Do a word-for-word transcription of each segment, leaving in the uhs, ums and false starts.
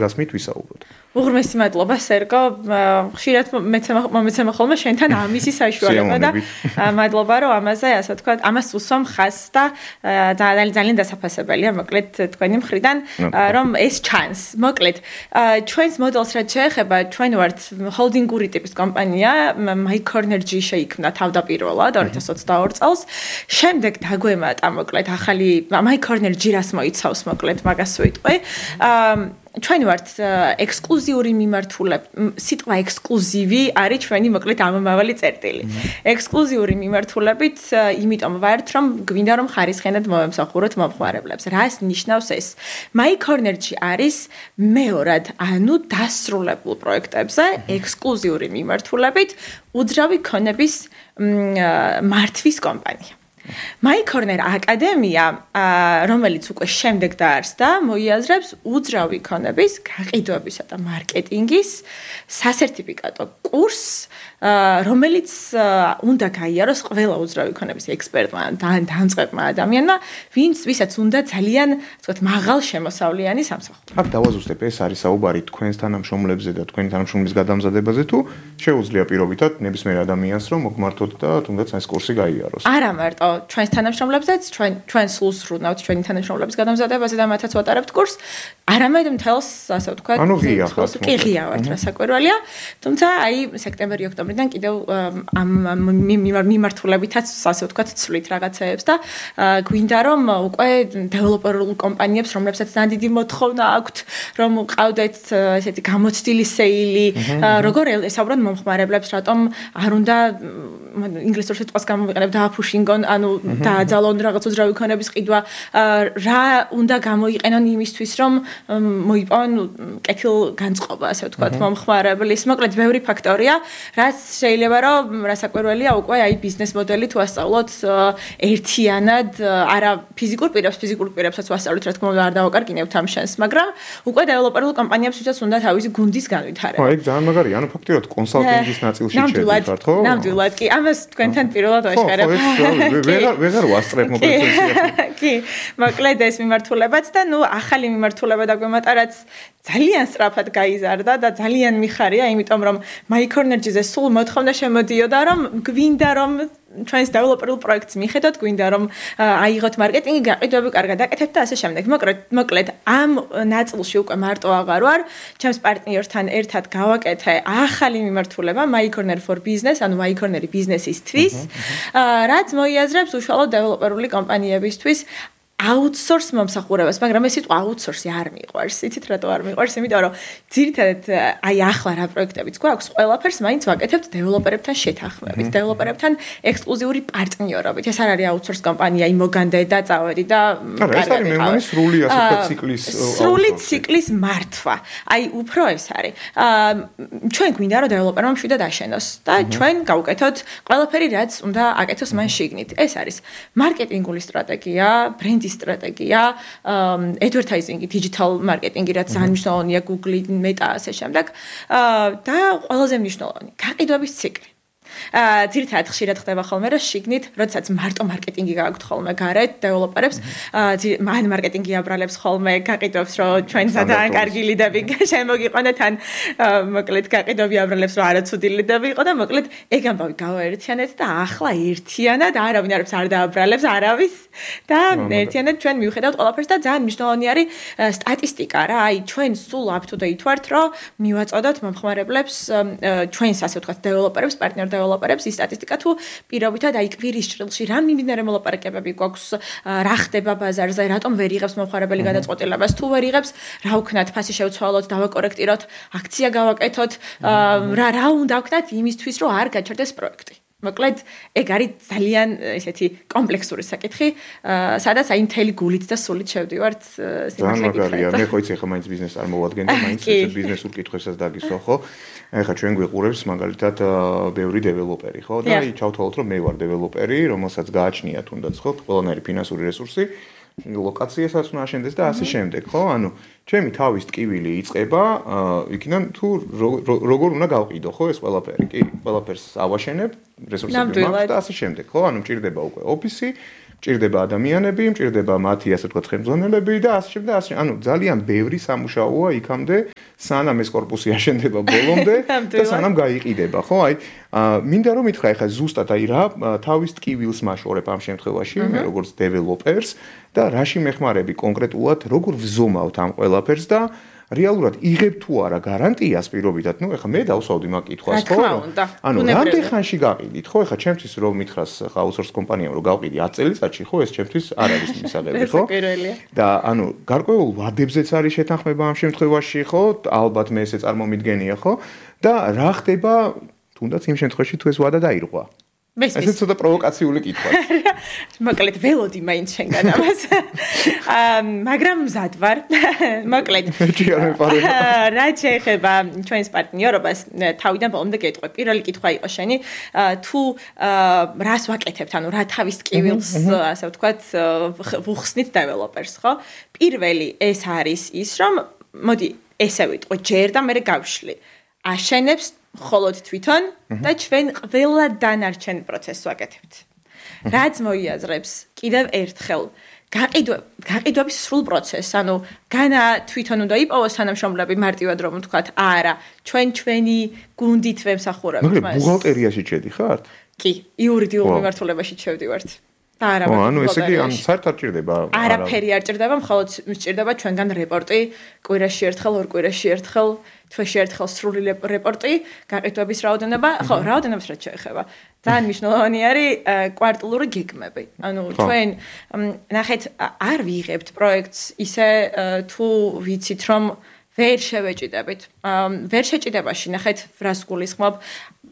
გასმით ვისაუბროთ. უღრმესი მადლობა სერგო, ხშირად მომეცემა ხოლმე შენთან ამისი საშუალება და მადლობა რომ ამაზე ასე ვთქვათ, ამას უსვამ ხაზს და ძალიან ძალიან დასაფასებელია მოკლედ თქვენი მხრიდან რომ ეს ჩანს. მოკლედ ჩვენს მოდელს რაც შეეხება, ჩვენ ვართ ჰოლდინგური ტიპის კომპანია, MyCornerG შეიქმნა თავდაპირველად ორი ათას ოცდაორი წელს. შემდეგ დაგვემატა მოკლედ ახალი MyCornerG რას მოიცავს მოკლედ მაგას ვიტყვი. ჩვენ ვართ ექსკლუზიური მიმართულება, სიტყვა ექსკლუზივი არის ჩვენი მოკლედ ამომავალი წერტილი. ექსკლუზიური მიმართულებით, იმიტომ ვართ, რომ გვინდა რომ ხარისხენად მოვემსახუროთ მომხმარებლებს. რას ნიშნავს ეს? MyCornerG არის მეორად, ანუ დასრულებულ პროექტებზე ექსკლუზიური მიმართულებით უძრავი ქონების მართვის კომპანია. MyCorner აკადემია, რომელიც უკვე შემდეგ დაარსდა, მოიაზრებს უძრავი ქონების გაყიდვებისა და მარკეტინგის სასერტიფიკატო კურსს, რომელიც უნდა გაიაროს ყველა უძრავი ქონების ექსპერტმა და დამწყებმა ადამიანმა, ვინც ვისაც უნდა ძალიან, ვთქვათ, მაღალ შემოსავლიანი სამსახური. აქ დავაზუსტებ, ეს არის საუბარი თქვენს თანამშრომლებზე და თქვენი თანამშრომლის გადამზადებაზე თუ შეუძლია პირობითად ნებისმიერ ადამიანს რომ მოგმართოთ და თუნდაც ეს კურსი გაიაროს. არა მარტო ჩვენს თანამშრომლებზეც, ჩვენ ჩვენ სულს ვრუნავთ ჩვენი თანამშრომლების გადამზადებაზე და მათაც ვატარებთ კურსს. არამედ მთელს, ასე ვთქვათ, ანუ ღია ხართ. კი ღია ვართ, რასაკვირველია. თუმცა აი სექტემბერი-ოქტომბრიდან კიდევ ამ მიმართულებითაც, ასე ვთქვათ, ცვლით რაღაცეებს და გვინდა რომ უკვე დეველოპერულ კომპანიებს, რომლებსაც ძალიან დიდი მოთხოვნა აქვთ, რომ ყავდეთ ესეთი გამოცდილი სეილი, როგორ ესაუბრონ მომხმარებლებს, რატომ არ უნდა ინგლისურ სიტყვას გამოვიყენებ დააფუშინგონ, ანუ დააძალონ რაღაც უძრავი ქონების ყიდვა, რა უნდა გამოიყენონ იმისთვის, რომ მოიპოვონ კეთილგანწყობა, ასე ვთქვათ, მომხმარებლის. მოკლედ, ბევრი ფაქტორია, რაც შეიძლება რომ რასაკვირველია უკვე აი ბიზნეს მოდელი თუ ასწავლოთ ერთიანად, არა ფიზიკურ პირებს, ფიზიკურ პირებსაც ვასწავლეთ, რა თქმა უნდა, არ დავაკარგინებთ ამ შენს, მაგრამ უკვე დეველოპერულ კომპანიებსაც უნდა თავისი გუნდის განვითარება. ხო, ეგ ძალიან მაგარია, ანუ ფაქტიურად კონსალტინგის ნაწილში შედიხართ, ხო? ნამდვილად კი, ამას თქვენთან პირველად ვაშკარებ. ვეღარ ვეღარ ვასწრებ მოკლედ. კი, მოკლედ ეს მიმართულებაც და ნუ ახალი მიმართულება დაგვემატა, რაც ძალიან სწრაფად გაიზარდა და ძალიან მიხარია, იმიტომ რომ MyCornerG-ზე სულ მოთხოვნა შემოდიოდა, რომ გვინდა რომ ჩვენს დეველოპერულ პროექტს მიხედოთ, გვინდა რომ აიღოთ მარკეტინგი, გაყიდვები კარგად აკეთებთ და ასე შემდეგ. მოკლედ, მოკლედ ამ ნაწილში უკვე მარტო აღარ ვარ, ჩემს პარტნიორთან ერთად გავაკეთე ახალი მიმართულება MyCorner for Business, ანუ MyCorner-ი ბიზნესისთვის, რაც მოიაზრებს უშუალოდ დეველოპერული კომპანიებისთვის outsource მომსახურებას, მაგრამ ეს სიტყვა outsource-ი არ მიყვარს. იცით რატო არ მიყვარს? იმიტომ რომ ძირითადად აი ახლა რა პროექტებიც გვაქვს, ყველაფერს მაინც ვაკეთებთ დეველოპერებთან შეთანხმებით, დეველოპერებთან ექსკლუზიური პარტნიორობით. ეს არ არის outsource კომპანია, იმ მოგანდე და წავედი და კარგად. ეს არის მე მგონი სრული ასე ვთქვათ ციკლის სრული ციკლის მართვა. აი უფრო ეს არის. ჩვენ გვინდა რომ დეველოპერმა მშვიდად აშენოს და ჩვენ გავუკეთოთ ყველაფერი, რაც უნდა აკეთოს მან შიგნით. ეს არის მარკეტინგული სტრატეგია, ბრენდი სტრატეგია, advertising-ი, digital marketing-ი, რაც ძალიან მნიშვნელოვანია, Google, Meta ასე შემდეგ. და ყველაზე მნიშვნელოვანი, გაყიდვების ციკლი. ძირითადად ხშირად ხდება ხოლმე, რომ შიგნით, როდესაც მარტო მარკეტინგი გააქვთ ხოლმე გარეთ დეველოპერებს, მან მარკეტინგი აბრალებს ხოლმე გაყიდვებს, რომ ჩვენ ძალიან კარგი ლიდები შემოგიყვანეთ, ან მოკლედ გაყიდვები აბრალებს, რომ არაცუდი ლიდები იყო და მოკლედ ეგ ამბავი გავაერთიანეთ და ახლა ერთიანად არავინ არებს არ დააბრალებს არავის და ერთიანად ჩვენ მივხედავთ ყველაფერს და ძალიან მნიშვნელოვანი არის სტატისტიკა რა, აი ჩვენ სულ up to date ვართ, რომ მივაწოდოთ მომხმარებლებს ჩვენს ასე ვთქვათ დეველოპერებს, პარტნიორ დეველოპერებს ის სტატისტიკა თუ პირობითად აი კვირის ჭრილში რა მიმდინარე მოლაპარაკებები გვაქვს, რა ხდება ბაზარზე, რატომ ვერ იღებს მომხმარებელი გადაწყვეტილებას, თუ ვერ იღებს, რა ვქნათ, ფასი შევცვალოთ, დავაკორექტიროთ, აქცია გავაკეთოთ, რა რა უნდა ვქნათ იმისთვის, რომ არ გაჩერდეს პროექტი. მოკლედ, ეგ არის ძალიან ესეთი კომპლექსური საკითხი, სადაც აი მთელი გულით და სულით შევდივართ ძალიან მაგარია. მე ხო იცი ახლა მაინც ბიზნესს არ მოვადგენ და მაინც ეს ბიზნესურ კითხვებსაც დაგისვა, ხო? ახლა ჩვენ გვიყურებს მაგალითად ბევრი დეველოპერი, ხო? და აი ჩავთვალოთ, რომ მე ვარ დეველოპერი, რომელსაც გააჩნია თუნდაც ხო, ყველანაირი ფინანსური რესურსი, ლოკაციასაც უნდა აშენდეს და ასე შემდეგ, ხო? ანუ ჩემი თავის ტკივილი იწყება იქიდან თუ როგორ უნდა გავყიდო, ხო, ეს ყველაფერი? კი, ყველაფერს ავაშენებ, რესურსები მაქვს და ასე შემდეგ, ხო? ანუ მჭირდება უკვე ოფისი, მჭირდება ადამიანები, მჭირდება მათი ასე ვთქვათ ხელმძღვანელები და ასე შემდეგ და ასე. ანუ ძალიან ბევრი სამუშაოა იქამდე, სანამ ეს корпуსი აშენდება ბოლომდე და სანამ გაიყიდება, ხო? აი, მინდა რომ მითხრა ეხლა ზუსტად აი რა თავის ტკივილს მაშორებ ამ შემთხვევაში, მე როგორც დეველოპერს და რაში მეხმარები კონკრეტულად, როგორ ვზომავთ ამ ყველაფერს და რეალურად იღებ თუ არა გარანტიას პირობითად, ну ეხლა მე დავსვავდი მაგ კითხვას, ხო? ანუ რამდენ ხანში გაყიდით, ხო? ეხლა ჩემთვის რომ მითხრას ხა აუთსორს კომპანიამ რომ გავყიდი ათი წელიწადში, ხო, ეს ჩემთვის არ არის მისაღები, ხო? და ანუ გარკვეულ ვადებზეც არის შეთანხმება ამ შემთხვევაში, ხო? ალბათ მე ესე წარმომიდგენია, ხო? და რა ხდება თუნდაც იმ შემთხვევაში თუ ეს ვადა დაირღვა? ესე ცოტა პროვოკაციული კითხვაა. მოკლედ ველოდი მაინც შენგან ამას. აა მაგრამ მზად ვარ. მოკლედ. რა შეეხება ჩვენს პარტნიორობას, თავიდან ბოლომდე გეტყვი. პირველი კითხვა იყო შენი, თუ რას ვაკეთებთ, ანუ რა თავის ტკივილს, ასე ვთქვათ, ვუხსნით დეველოპერს, ხო? პირველი ეს არის ის, რომ მოდი ესე ვიტყვი, ჯერ და მე გავშლი. აშენებს ხოლოდ თვითონ და ჩვენ ყველა დანარჩენ პროცესს ვაკეთებთ. რაც მოიაზრებს კიდევ ერთხელ გაყიდვების სრულ პროცესს, ანუ განა თვითონ უნდა იპოვოს თანამშრომლები მარტივად რომ ვთქვათ, არა, ჩვენ ჩვენი გუნდით ვემსახურებთ მას. მაგრამ ბუღალტერიაში შედი ხართ? კი, იურიდიულ მიმართულებაში შევდივართ. და არა, ანუ ესე იგი ამ საერთოდ არ ჭირდება. არაფერი არ ჭირდება, მხოლოდ ჭირდება ჩვენგან რეპორტი, კვირაში ერთხელ, ორ კვირაში ერთხელ, თვეში ერთხელ სრული რეპორტი, გაყიდვების რაოდენობა, ხო, რაოდენობას რაც შეეხება. ძალიან მნიშვნელოვანი არის კვარტალური გეგმები. ანუ ჩვენ ნახეთ არ ვიღებთ პროექტს ისე თუ ვიცით რომ ვერ შევეჭიდებით. ვერ შეჭიდებაში ნახეთ რას გულისხმობ.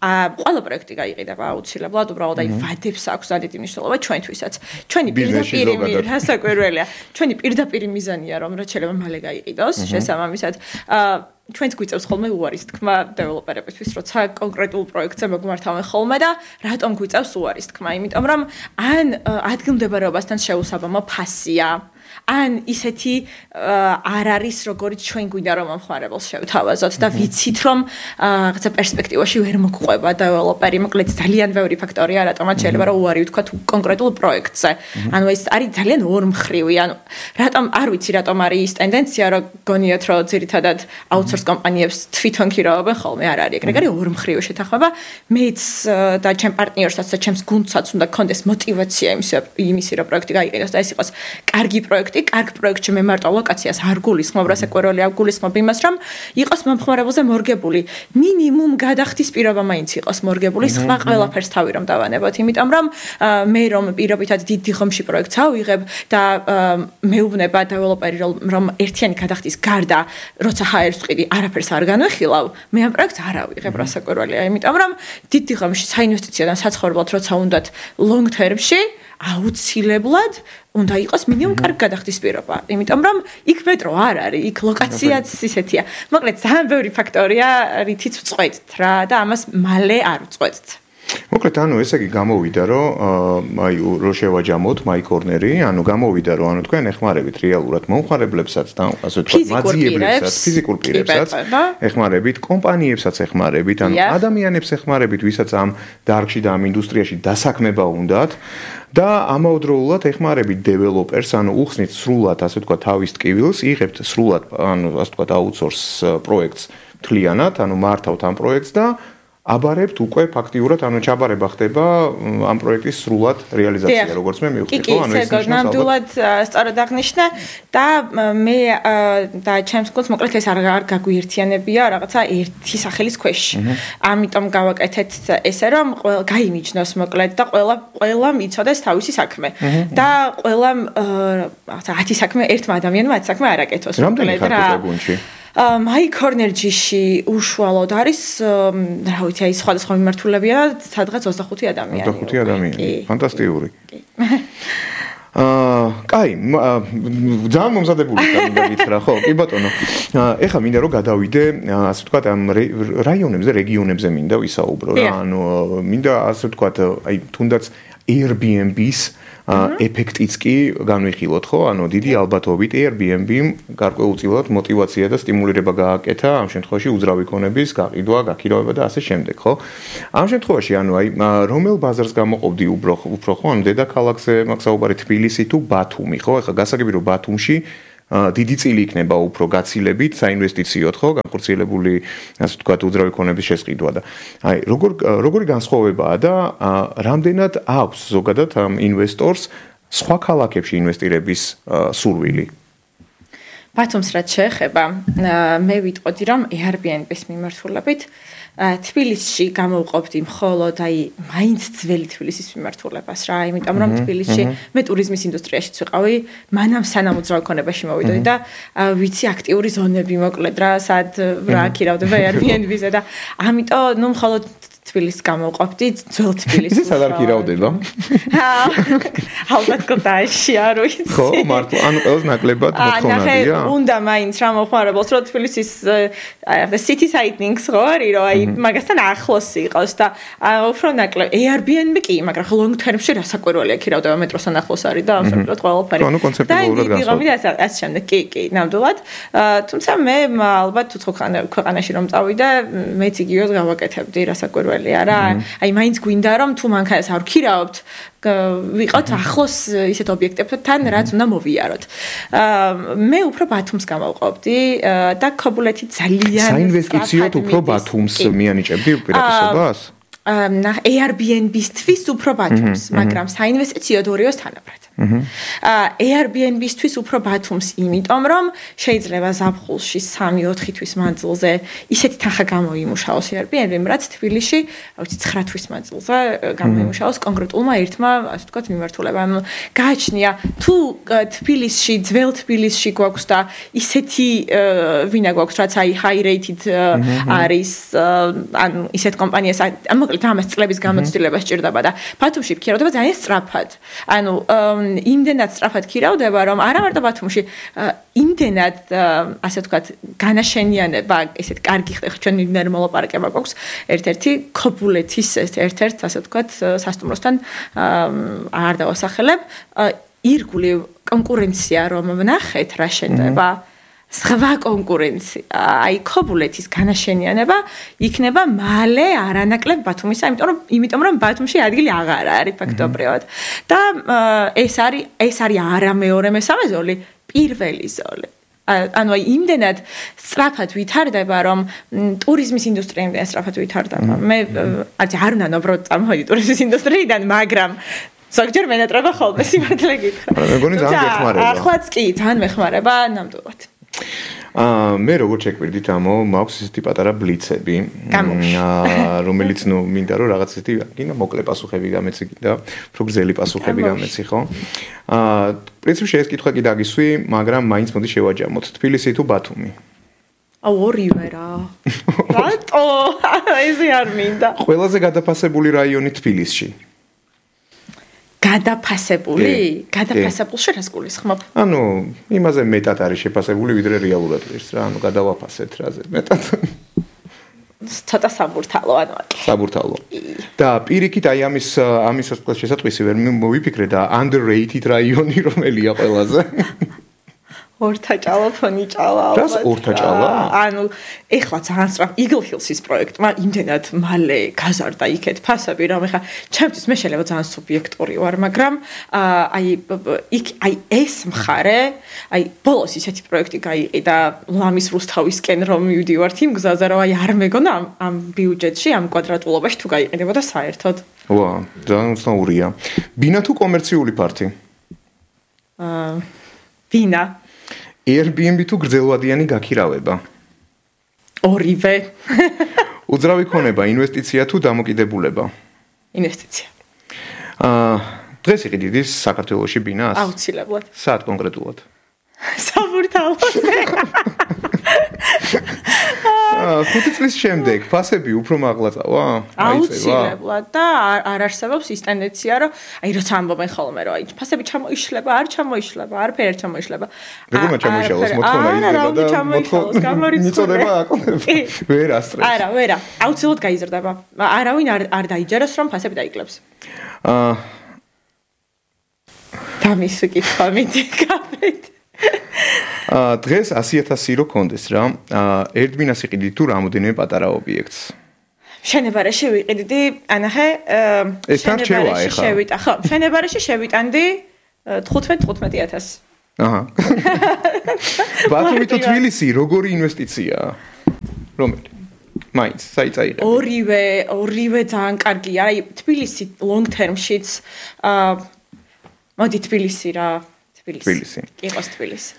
ყველა პროექტი გაიყიდება აუცილებლად, უბრალოდ აი ვადებს აქვს დიდი მნიშვნელობა ჩვენთვისაც. ჩვენი პირდაპირი რასაკვირველია. ჩვენი პირდაპირი მიზანია რომ რაც შეიძლება მალე გაიყიდოს, შესაბამისად ჩვენც გვიწევს ხოლმე უარის თქმა დეველოპერებისთვის, როცა კონკრეტულ პროექტზე მოგმართავენ ხოლმე და რატომ გვიწევს უარის თქმა? იმიტომ რომ ან ადგილმდებარეობასთან შეუსაბამო ფასია, ან ისეთი არ არის, როგორც ჩვენ გვინდა რომ მომხმარებელს შევთავაზოთ და ვიცით რომ რაღაცა პერსპექტივაში ვერ მოგყვება დეველოპერი, მოკლედ ძალიან ბევრი ფაქტორია, რატომაც შეიძლება რომ უარი ვთქვათ კონკრეტულ პროექტზე. ანუ ეს არის ძალიან ორმხრივი, ანუ რატომ არ ვიცი რატომ არის ის ტენდენცია, რომ გონიათ რომ ძირითადად აუთსორს კომპანიებს თვითონ ქირაობენ ხოლმე, არ არის ეგრე, არის ორმხრივი შეთანხმება. მეც და ჩემ პარტნიორსაც და ჩემს გუნდსაც უნდა გქონდეს мотиваცია იმისი რომ პროექტი გაიყიდოს და ეს იყოს კარგი პროექტი. კარგ პროექტში მე მარტო ლოკაციას არ გულისხმობ, რასაკვირველი არ გულისხმობ იმას, რომ იყოს მომხმარებელზე მორგებული. მინიმუმ გადახდის პირობა მაინც იყოს მორგებული, სხვა ყველაფერს თავი რომ დავანებოთ, იმიტომ რომ მე რომ პირობითად დიდ დიღომში პროექტს ავიღებ და მეუბნება დეველოპერი რომ ერთიანი გადახდის გარდა, როცა ჰაერს ვყიდი, არაფერს არ განვიხილავ, მე ამ პროექტს არ ავიღებ, რასაკვირველია, იმიტომ რომ დიდ დიღომში საინვესტიციოდან საცხოვრებლად როცა უნდათ long term-ში აუცილებლად უნდა იყოს მინიმუმ კარგ გადახდის პირობა. იმიტომ რომ იქ მეტრო არ არის, იქ ლოკაციაც ისეთია. მოკლედ ძალიან ბევრი ფაქტორია, რითიც ვწყვეტთ რა და ამას მალე არ ვწყვეტთ. მოკლედ ანუ ესე იგი გამოვიდა რომ აი რო შევაჯამოთ მაი კორნერი, ანუ გამოვიდა რომ ანუ თქვენ ეხმარებით რეალურად მომხმარებლებსაც და ასე ვთქვათ მაძიებლებსაც, ფიზიკურ პირებსაც ეხმარებით, კომპანიებსაც ეხმარებით, ანუ ადამიანებს ეხმარებით, ვისაც ამ დარგში და ამ ინდუსტრიაში დასაქმება უნდათ. და ამავდროულად ეხმარებით დეველოპერს, ანუ უხსნით სრულად, ასე ვთქვათ, თავის ტკივილს, იღებთ სრულად, ანუ ასე ვთქვათ, აუთსორს პროექტს მთლიანად, ანუ მართავთ ამ პროექტს და აბარებთ უკვე ფაქტიურად, ანუ ჩაბარება ხდება ამ პროექტის სრულად რეალიზაცია, როგორც მე მივხვდი, ხო? ანუ ეს ნიშნავს ნამდვილად სწორად აღნიშნა და მე და ჩემს გულს მოკლედ ეს არ გაგვიერთიანებია რაღაცა ერთი სახელის ქვეშ. ამიტომ გავაკეთეთ ესე რომ გაიმიჯნოს მოკლედ და ყველა ყველა მიცოდეს თავისი საქმე. და ყველა რაღაცა ათი საქმე ერთმა ადამიანმა ათი საქმე არ აკეთოს მოკლედ რა. მაი კორნერჯიში უშუალოდ არის, რა ვიცი, აი სხვადასხვა მიმართულებია, სადღაც ოცდახუთი ადამიანი. ოცდახუთი ადამიანი. ფანტასტიკური. აა, კაი, ძალიან მომზადებული მინდა გითხრა, ხო? კი ბატონო. ეხლა მინდა რომ გადავიდე, ასე ვთქვათ, ამ რაიონებზე, რეგიონებზე მინდა ვისაუბრო რა. ანუ მინდა ასე ვთქვათ, აი თუნდაც Airbnb-ის ეფექტიც კი განვიხილოთ, ხო? ანუ დიდი ალბათობით Airbnb-მ გარკვეულწილად мотиваცია და სტიმულირება გააკეთა ამ შემთხვევაში უძრავი ქონების გაყიდვა, გაქირავება და ასე შემდეგ, ხო? ამ შემთხვევაში ანუ აი რომელ ბაზარს გამოყოფდი უფრო უფრო ხო? ანუ დედაქალაქზე მაქვს საუბარი თბილისი თუ ბათუმი, ხო? ეხლა გასაგები რომ ბათუმში დიდი წილი იქნება უფრო გაცილებით საინვესტიციოდ, ხო, განხორციელებული, ასე ვთქვათ, უძრავი ქონების შესყიდვა და აი, როგორ როგორი განსხვავებაა და რამდენად აქვს ზოგადად ამ ინვესტორს სხვა ქალაქებში ინვესტირების სურვილი? ბათუმს რაც შეეხება, მე ვიტყოდი, რომ Airbnb-ის მიმართულებით თბილისში გამოვყოფდი მხოლოდ აი მაინც ძველი თბილისის მიმართულებას რა, იმიტომ რომ თბილისში მე ტურიზმის ინდუსტრიაშიც ვიყავი, მანამ სანამ უძრავი ქონებაში მოვიდოდი და ვიცი აქტიური ზონები მოკლედ რა, სად რა ქირავდება Airbnb-ზე და ამიტომ ნუ მხოლოდ თბილისს გამოვყოფდი, ძველ თბილისს. სად არ ქირავდება? ალბათ კლდეში არ ვიცი. ხო, მართლა, ანუ ყველას ნაკლებად მოთხოვნადია. უნდა მაინც რა მოხმარებელს, რომ თბილისის აი city sightings ხო არის, რომ აი მაგასთან ახლოს იყოს და უფრო ნაკლებ Airbnb კი, მაგრამ long term-ში რასაკვირველია ქირავდება მეტროსთან ახლოს არის და აბსოლუტურად ყველაფერი. ანუ კონცეპტუალურად განსხვავდება. ასე შემდეგ, კი, კი, ნამდვილად. თუმცა მე ალბათ უცხო ქვეყანაში რომ წავიდე, მეც იგივეს გავაკეთებდი რასაკვირველია. არა, აი მაინც გვინდა რომ თუ მანქანას არ ვქირავთ, ვიყოთ ახლოს ისეთ ობიექტებთან, რაც უნდა მოვიაროთ. მე უფრო ბათუმს გამოვყოფდი და ქობულეთი ძალიან საინვესტიციოდ უფრო ბათუმს მიანიჭებდი უპირატესობას? Airbnb-ისთვის უფრო ბათუმს, მაგრამ საინვესტიციოდ ორივეს თანაბრად. Airbnb-ისთვის უფრო ბათუმს, იმიტომ რომ შეიძლება ზაფხულში სამი-ოთხი თვის მანძილზე ისეთი თანხა გამოიმუშაოს Airbnb-მ, რაც თბილისში, ვიცი, ცხრა თვის მანძილზე გამოიმუშაოს კონკრეტულმა ერთმა, ასე ვთქვათ, მიმართულებამ. გააჩნია, თუ თბილისში, ძველ თბილისში გვაქვს და ისეთი ვინა გვაქვს, რაც აი high rated არის, ანუ ისეთ კომპანიას, მოკლედ ამას წლების გამოცდილება სჭირდება და ბათუმში ქირავდება ძალიან სწრაფად. ანუ იმდენად სწრაფად ქირავდება, რომ არა მარტო ბათუმში, იმდენად, ასე ვთქვათ, განაშენიანება, ესეთ კარგი ხდება, ჩვენ მიმდინარე მოლაპარაკება გვაქვს, ერთ-ერთი ქობულეთის ერთ-ერთ, ასე ვთქვათ, სასტუმროსთან არ დავასახელებ, ირგვლივ კონკურენცია რომ ვნახეთ რა შენდება, სხვა კონკურენცია, აი ქობულეთის განაშენიანება იქნება მალე არანაკლებ ბათუმისა, იმიტომ რომ იმიტომ რომ ბათუმში ადგილი აღარ არის ფაქტობრივად. და ეს არის ეს არის არა მეორე მესამე ზოლი, პირველი ზოლი. ანუ აი იმდენად სწრაფად ვითარდება, რომ ტურიზმის ინდუსტრია იმდენად სწრაფად ვითარდება. მე არც არ უნდა ნობროდ წამოვიდი ტურიზმის ინდუსტრიიდან, მაგრამ ზოგჯერ მენატრება ხოლმე სიმართლე გითხრა. მეგონი ძალიან მეხმარება. ახლაც კი, ძალიან მეხმარება, ნამდვილად. აა მე როგორ შეკვირდით ამო, მაქვს ესეთი პატარა ბლიცები, აა რომელიც ნუ მინდა რომ რაღაც ესეთი კიდე მოკლე პასუხები გამეცი და უფრო გრძელი პასუხები გამეცი, ხო? აა პრინციპში ეს კითხვა კი დაგისვი, მაგრამ მაინც მოდი შევაჯამოთ. თბილისი თუ ბათუმი? აუ ორივე რა. რატო? ესე არ მინდა. ყველაზე გადაფასებული რაიონი თბილისში. გადაფასებული? გადაფასებულში რას გულისხმობ? ანუ იმაზე მეტად არის შეფასებული, ვიდრე რეალურად ის რა, ანუ გადავაფასეთ რაზე მეტად. ცოტა საბურთალო ანუ. საბურთალო. და პირიქით აი ამის ამის შესატყვისი ვერ მოვიფიქრე და underrated რაიონი რომელია ყველაზე? ორთაჭალა, ფონიჭალა. რას ორთაჭალა? ანუ ეხლა ძალიან სწრაფ Eagle Hills-ის პროექტმა იმდენად მალე გაზარდა იქეთ ფასები, რომ ეხლა ჩემთვის მე შეიძლება ძალიან სუბიექტური ვარ, მაგრამ აი იქ აი ეს მხარე, აი ბოლოს ისეთი პროექტი გაიყიდა ლამის რუსთავისკენ რომ მივდივართ იმ გზაზე, რომ აი არ მეგონა ამ ამ ბიუჯეტში, ამ კვადრატულობაში თუ გაიყიდებოდა საერთოდ. ვა, ძალიან უცნაურია. ბინა თუ კომერციული პარტი? აა ბინა. Airbnb თუ გრძელვადიანი გაქირავება? ორივე. უძრავი ქონება, ინვესტიცია თუ დამოკიდებულება? ინვესტიცია. აა დღეს იყიდით საქართველოში ბინას? აუცილებლად. სად კონკრეტულად? საბურთალოზე. აა ხუთი წლის შემდეგ ფასები უფრო მაღლა წავა? აუცილებლად და არ არსებობს ის ტენდენცია, რომ აი როცა ამბობენ ხოლმე, რომ აი ფასები ჩამოიშლება, არ ჩამოიშლება, არაფერი არ ჩამოიშლება. როგორ ჩამოიშალოს მოთხოვნა იზრდება და მოთხოვნა მიწოდება აკლდება. ვერ ასწრებს. არა, ვერა, აუცილებლად გაიზრდება. არავინ არ არ დაიჯეროს, რომ ფასები დაიკლებს. აა დამისვი კითხვა მიდი გავეთ. აა დღეს ასი ათასი რო კონდეს რა. აა ერთბინას იყიდი თუ რამოდენიმე პატარა ობიექტს. შენებარეში ვიყიდი, ანახე, შენებარეში შევიტა, ხო, შენებარეში შევიტანდი თხუთმეტ თხუთმეტი ათასი. აჰა. ბათუმი თუ თბილისი როგორი ინვესტიციაა? რომელი? მაინც, საიტაიღე. ორივე, ორივე ძალიან კარგია. აი, თბილისი long term-შიც აა მოდი თბილისი რა, თბილისი. თბილისი. იყოს თბილისი.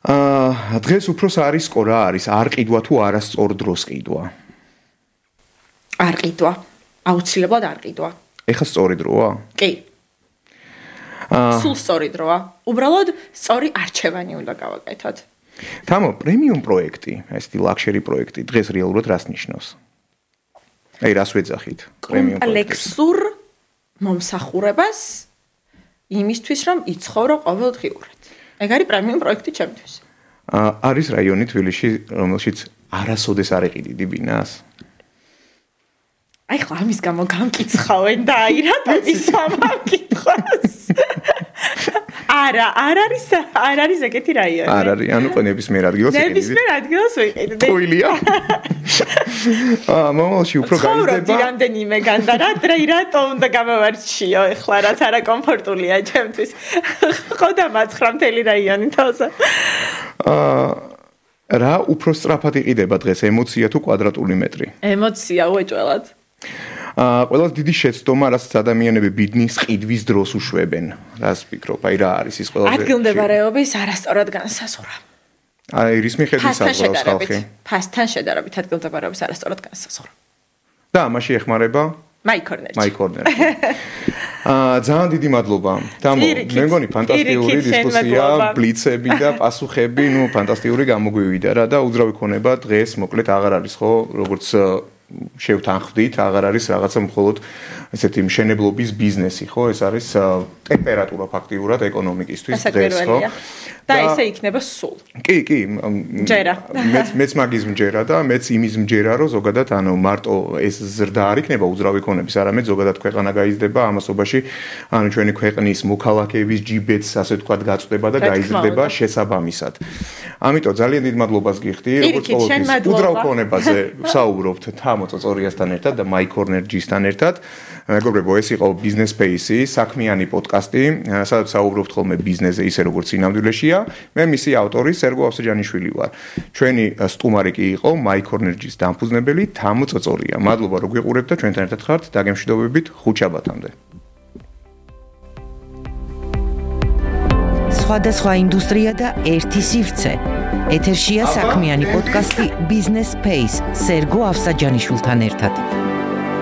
აა დღეს უფროს არის ყო რა არის? არ ყიდვა თუ არა სწორ დროს ყიდვა? არ ყიდვა. აუცილებლად არ ყიდვა. ეხა სწორი დროა? კი. აა სულ სწორი დროა. უბრალოდ სწორი არჩევანი უნდა გავაკეთოთ. თამო, პრემიუმ პროექტი, ესეთი ლაქშერი პროექტი დღეს რეალურად რას ნიშნავს? აი, რას ვეძახით? პრემიუმ პროექტი. კომპლექსურ მომსახურებას იმისთვის, რომ იცხოვრო ყოველდღიურად. ეგ არის პრემიუმ პროექტი ჩემთვის. აა არის რაიონი თბილისში, რომელშიც არასოდეს არ ეყიდიდი ბინას? აი ხლა ამის გამო გამკიცხავენ და აი რატომ ის ამკითხავს? არა, არ არის, არ არის ეგეთი რაიონი. არ არის, ანუ ნებისმიერ ადგილას ეყიდიდი. ნებისმიერ ადგილას ვიყიდდი. ხოილია. აა, მომავალში უფრო გაიზრდება. ცხოვრობდი რამდენიმე გან და რა რატო უნდა გამოვარჩიო ეხლა რაც არა კომფორტულია ჩემთვის. ხო და მაცხრა მთელი რაიონი თავს. აა რა უფრო სწრაფად იყიდება დღეს ემოცია თუ კვადრატული მეტრი? ემოცია უეჭველად. აა ყველას დიდი შეცდომა, რასაც ადამიანები ბიდნის ყიდვის დროს უშვებენ. რას ფიქრობ? აი რა არის ის ყველაზე ადგილმდებარეობის არასწორად განსაზღვრა. აი რის მიხედვით საზღვრავს ხალხი? ფასთან შედარებით ადგილმდებარეობის არასწორად განსაზღვრა. და ამაში ეხმარება მაიკორნერი. მაიკორნერი. აა ძალიან დიდი მადლობა. თამო, მე მგონი ფანტასტიკური დისკუსია, ბლიცები და პასუხები, ნუ ფანტასტიკური გამოგვივიდა რა და უძრავი ქონება დღეს მოკლედ აღარ არის ხო, როგორც შევთანხმდით, აღარ არის რაღაცა მხოლოდ ესეთი მშენებლობის ბიზნესი, ხო? ეს არის ტემპერატურა ფაქტიურად ეკონომიკისთვის დღეს, ხო? და ესე იქნება სულ. კი, კი. ჯერა. მეც მეც მაგის მჯერა და მეც იმის მჯერა, რომ ზოგადად ანუ მარტო ეს ზრდა არ იქნება უძრავი ქონების, არამედ ზოგადად ქვეყანა გაიზრდება ამასობაში, ანუ ჩვენი ქვეყნის მოქალაქეების ჯიბეც ასე ვთქვათ გაწდება და გაიზრდება შესაბამისად. ამიტომ ძალიან დიდ მადლობას გიხდი, როგორც ყოველთვის უძრავ ქონებაზე ვსაუბრობთ თამო წოწორიასთან ერთად და მაიკორნერჯისთან ერთად. მეგობრებო, ეს იყო Business Space-ი, საქმიანი პოდკასტი, სადაც საუბრობთ ხოლმე ბიზნესზე ისე როგორც სინამდვილეშია. მე მისი ავტორი სერგო ავსაჯანიშვილი ვარ. ჩვენი სტუმარი კი იყო მაიკორნერჯის დამფუძნებელი თამო წოწორია. მადლობა რომ გვიყურებთ და ჩვენთან ერთად ხართ. დაგემშვიდობებით ხუთშაბათამდე. სხვადასხვა ინდუსტრია და ერთი სივრცე. ეთერშია საქმიანი პოდკასტი Business Space სერგო ავსაჯანიშვილთან ერთად.